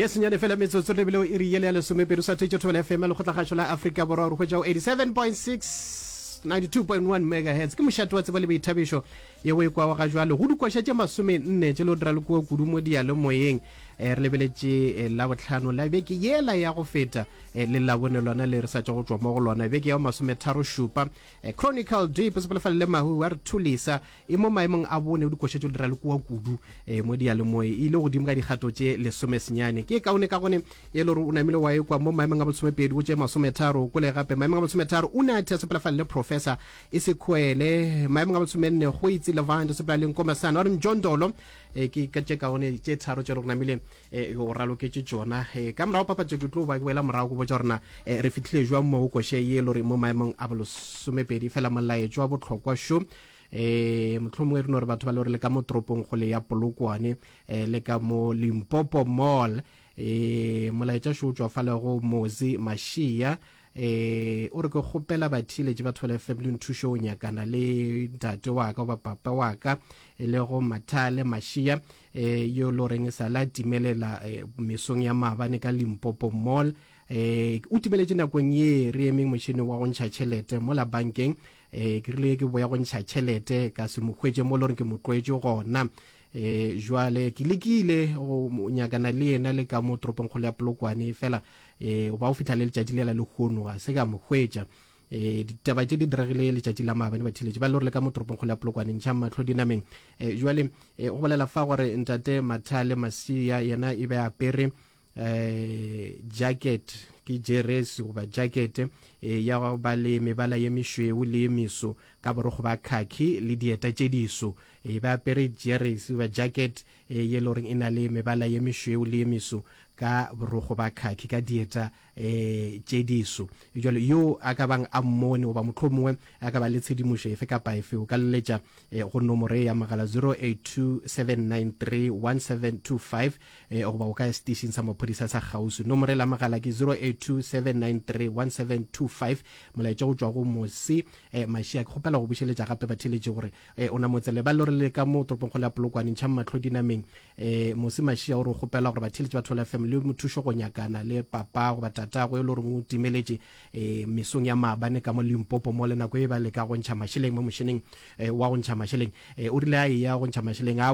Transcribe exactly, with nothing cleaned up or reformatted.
Ke senyane fela metsotso re bile iri yele ya lesomepedi sa thetše Thobela F M ya Lekgotlakgašo la Afrika Borwa re hwetša go eighty-seven point six ninety-two point one megahertz. Ke mošate wa tsebo le boithabišo ye o e kwago ga jwale go dikoša tše masomenne tše le o dira le kua kudu mo diyalemoyeng. Eh, re lebeletše eh, Labohlano la beke yela ya go feta eh, le Labone lona le re sa tšwa go tšwa mo go lona beke ya masometharo šupa. Eh, Chronicle Deep sepelefale le mahu wa re thulisa e mo maemong a bone o dikoša tše o dira le kua kudu eh, mo diyalemoye e ile godimo ka dikgato tše lesomesenyane. Ke kaone ka gone e le gore o namile wa ekwa mo maemong a bolesomepedi go tše masometharo kole gape maemong a bolesometharo o ne a thea sepelefale le Professor e sekhwele maemong a bolesomenne go itse Levant sepela le Nkomasana wa re Mjondolo. Eh, ke ka tše kaone tše tharo tše re namile eh, o raloketše tšona. Eh, ka morago papatšo ke tlo ba ke boela morago go botša gorena eh, re fihlile jwang mo go koše ye e le gore mo maemong a bolesomepedi fela molaetšo wa bohlokwa šo. Eh, mohlomongwe re no re batho ba le gore le ka mo toropong kgole ya Polokwane eh, le ka mo Limpopo Mall eh, molaetša šo o tšwa fale go Mozi Mashia eh, o re ke kgopela batheeletši ba Thobela F M le nthušo o nyakana le ntate wa ka goba papa wa ka e le go Mathale Mashia eh, yo le goreng e sa la timelela eh, mesong ya maabane ka Limpopo Mall. Eh, o timeletše nakong ye re emeng motšhene wa go ntšha tšhelete mola bankeng. Eh, ke rile ke boya go ntšha tšhelete ka se mo hwetše mo le gore ke mo tlwaetše gona. Eh, jwale ke lekile go nyakana le yena le ka mo toropongkgolo ya Polokwane fela eh, ba o fihla le letšatši lela lehono ga se ka mo hwetša. Eh, ditaba tše di diregile letšatši la maabane batheeletši ba le gore le ka mo toropongkgolo ya Polokwane ntšha mahlo dinameng. Eh, jwale eh, go bolela fa gore ntate Mathale Masia yena e be apere eh, jacket ke jeresi goba jacket eh, ya go ba le mebala ye mešweu le ye meso ka borokgo ba khaki le dieta tše diso. E ba apere jeresi goba jacket eh, ye le goreng e na le mebala ye mešweu le ye meso ka borokgo ba khaki ka dieta eh, tše diso. Jwale yo a ka bang a mmone goba mohlomongwe a ka ba le tshedimošo efe kapa efe o ka leletša eh, go nomoro ya mogala zero eight two seven nine three one seven two five eh, goba o ka ya station sa maphodisa sa kgauswi. Nomoro la mogala ke zero eight two seven nine three one seven two five. Molaetša go tšwa go Mosi eh, Mashia. Ke kgopela go bušeletša gape batheeletši gore eh, o namotsele ba le gore le ka mo toropongkgolo ya Polokwane ntšha mahlo dinameng. Eh, Mosi Mashia o re kgopela gore batheeletši ba Thobela F M le mothušo go nyakana le papa goba tatago e le gore o timeletše eh, mesong ya maabane ka mo Limpopo mo le nako e ba leka go ntšha mašeleng mo mošeneng eh, wa go ntšha mašeleng. Eh, o rile a eya go ntšha mašeleng a